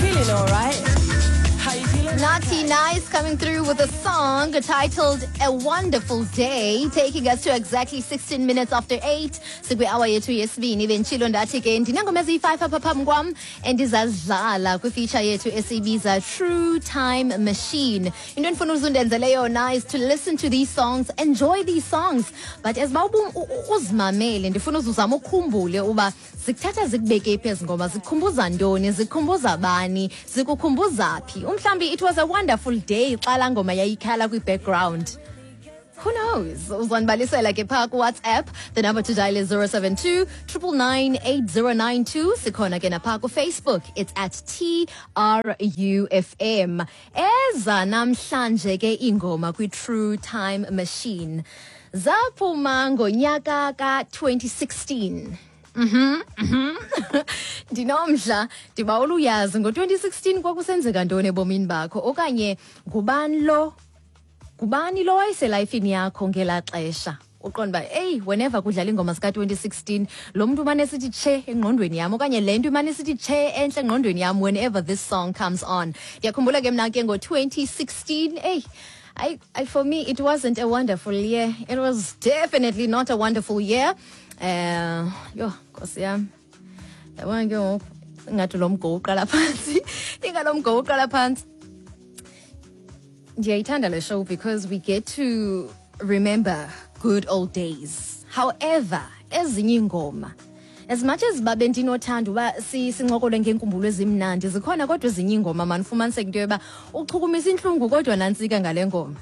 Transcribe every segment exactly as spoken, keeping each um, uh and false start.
Feeling alright? How you feeling? Naughty Nice coming through with a song titled A Wonderful Day, taking us to exactly sixteen minutes after eight. Sikwi-hour yethu yesibini. Benditshilo ndathi ke ndinengoma eziyi-five apha phambi kwam endizazidlala kwifeature yethu esiyibiza True Time Machine. Into endifuna uzundenzele yona is to listen to these songs, enjoy these songs, but as uba uzimamele, ndifuna uzuzama ukhumbule uba zikuthatha zikubeke phi ezi ngoma, zikukhumbuza ntoni, zikukhumbuza bani, zikukhumbuza phi. Umhlawumbi it was a wonderful day xa laa ngoma yayikhala kwi-background. Who knows? Uzondibalisela ke phaa ku-WhatsApp. The number to dial is zero seven two nine nine nine eight zero nine two. Sikhona ke naphaa ku-Facebook. It's at T R U F M. Eza namhlanje ke ingoma kwi-True Time Machine zaphuma ngonyaka ka-twenty sixteen. Mhm, mhm. Ndinomdla, ndibawela uyazi ngo-twenty sixteen kwakusenzeka ntoni ebomini bakho, okanye ngubani lo ngubani lo wayeselifini yakho ngelaa xesha. Uqonda uba, eyi, whenever kudlala iingoma zika-twenty sixteen, lo mntu umane esithi tshe engqondweni yam, okanye le nto imane isithi tshe entle engqondweni yam whenever this song comes on. Ndiyakhumbula ke mna ke ngo-twenty sixteen, eyi, I, I, for me, it wasn't a wonderful year. It was definitely not a wonderful year. Uh, yho, nkosi yam. Yabona ke ngoku, ingathi lo mgo uqala phantsi. Ingalo mgo uqala phantsi. Ndiyayithanda le show because we get to remember good old days. However, ezinye iingoma, as much as babe ndinothanda uba si- sincokole ngeenkumbulo ezimnandi, zikhona kodwa ezinye iingoma, mani, ufumaniseke into yoba uchukumisa intlungu kodwa nantsika ngale ngoma.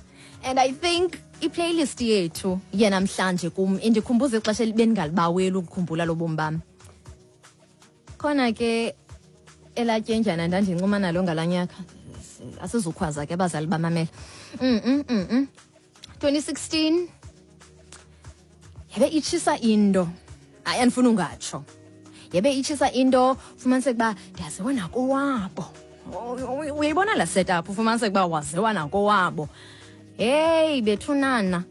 And I think iplaylist yethu yenamhlanje kum indikhumbuza ixesha bendingalibaweli ukukhumbula lobomi bam. Khona ke elatyenjana ndandincuma nalo ngalaa nyaka. Asizukhwaza ke, abazali bamamela. mm, mm, mm, mm. twenty sixteen yebe itshisa into. Hayi, andifuna ungatsho, yebe itshisa into. Fumaniseke uba ndiyaziwa nakowabo. Uyayibona laa setup, ufumaniseke uba waziwa nakowabo. Heyi bethunana,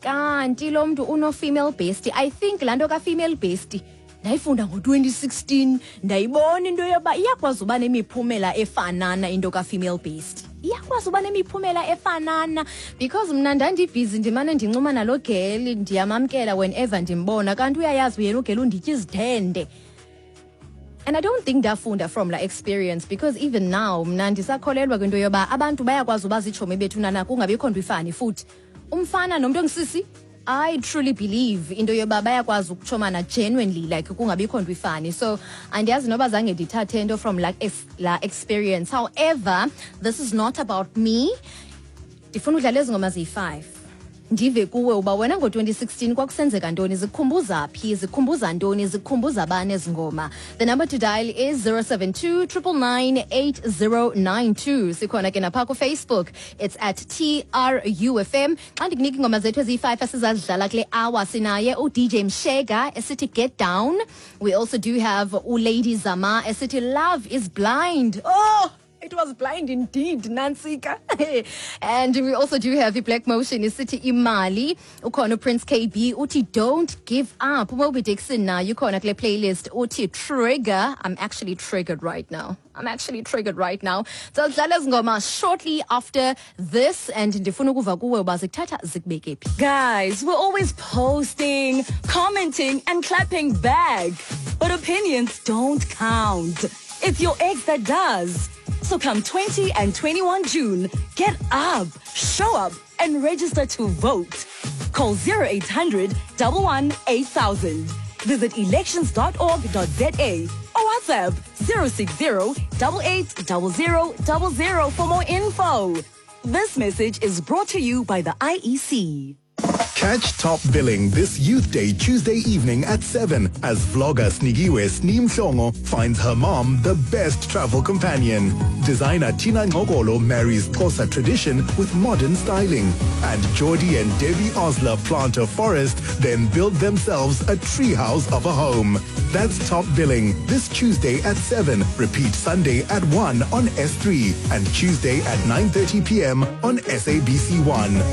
kanti lo mntu uno-female bestie. I think laa nto ka-female bestie ndayifunda ngo-twenty sixteen. Ndayibona into yoba iyakwazi uba nemiphumela efanana. Into ka-female bestie iyakwazi uba nemiphumela efanana, because mna ndandibhizi, ndimane ndincuma nalo girl, ndiyamamkela whenever ndimbona, kanti uyayazi yena ugirl unditya izithende. And I don't think ndafunda from la experience, because even now mna ndisakholelwa kwinto yoba abantu bayakwazi uba ziitshomi bethunana, kungabikho nto ifani futhi umfana nomntu ongisisi. I truly believe into yoba bayakwazi ukutshomana genuinely, like kungabikho nto ifani. So andiyazi noba zange ndithathe nto from la, ex, la experience. However, this is not about me. Ndifuna udlala ezi ngoma ziyi-five, ndive kuwe uba wena ngo-twenty sixteen kwakusenzeka ntoni, zikukhumbuza phi, zikukhumbuza ntoni, zikukhumbuza bani ezi ngoma. The number to dial is zero seven two nine nine nine eight zero nine two. Sikhona ke naphaa kuFacebook. It's at T R U F M. Xa ndikunika iingoma zethu eziyi-five esizazidlala kule hour, sinaye uD J Mshega esithi "Get Down". We also do have uLady Zama esithi "Love Is Blind". Oh, it was blind indeed, Nantsika. And we also do have the Black Motion isithi "Imali". Ukhona Prince K B uthi "Don't Give Up". Moby Dixon naye ukhona kule playlist, uthi "Trigger". I'm actually triggered right now. I'm actually triggered right now. So dlala ngoma shortly after this, and ndifuna ukuva kuwe uba zikuthatha zikubeke phi. Guys, we're always posting, commenting, and clapping back. But opinions don't count. It's your ex that does. So come twenty and twenty-one June, get up, show up, and register to vote. Call zero eight hundred one one eight thousand. Visit elections dot org dot za or WhatsApp zero six zero eight eight zero zero zero zero for more info. This message is brought to you by the I E C. Catch Top Billing this Youth Day, Tuesday evening at seven, as vlogger Snigiwe Sneem Mhlongo finds her mom the best travel companion. Designer Tina Ngogolo marries Xhosa tradition with modern styling. And Jordi and Debbie Osler plant a forest, then build themselves a treehouse of a home. That's Top Billing this Tuesday at seven. Repeat Sunday at one on S three and Tuesday at nine thirty p m on S A B C one.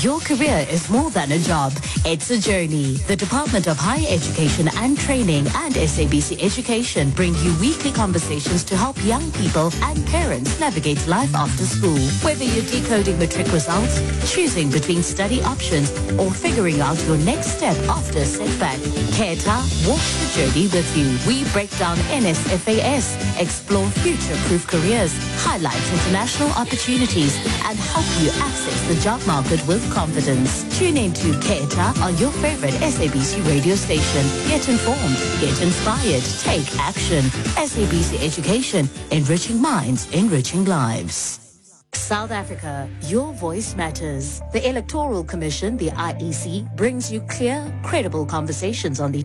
You're Your career is more than a job. It's a journey. The Department of Higher Education and Training and S A B C Education bring you weekly conversations to help young people and parents navigate life after school. Whether you're decoding matric results, choosing between study options, or figuring out your next step after a setback, Khetha walks the journey with you. We break down N S F A S, explore future-proof careers, highlight international opportunities, and help you access the job market with confidence. Tune in to Khetha on your favorite S A B C radio station. Get informed, get inspired, take action. S A B C Education, enriching minds, enriching lives. South Africa, your voice matters. The Electoral Commission, the I E C, brings you clear, credible conversations on the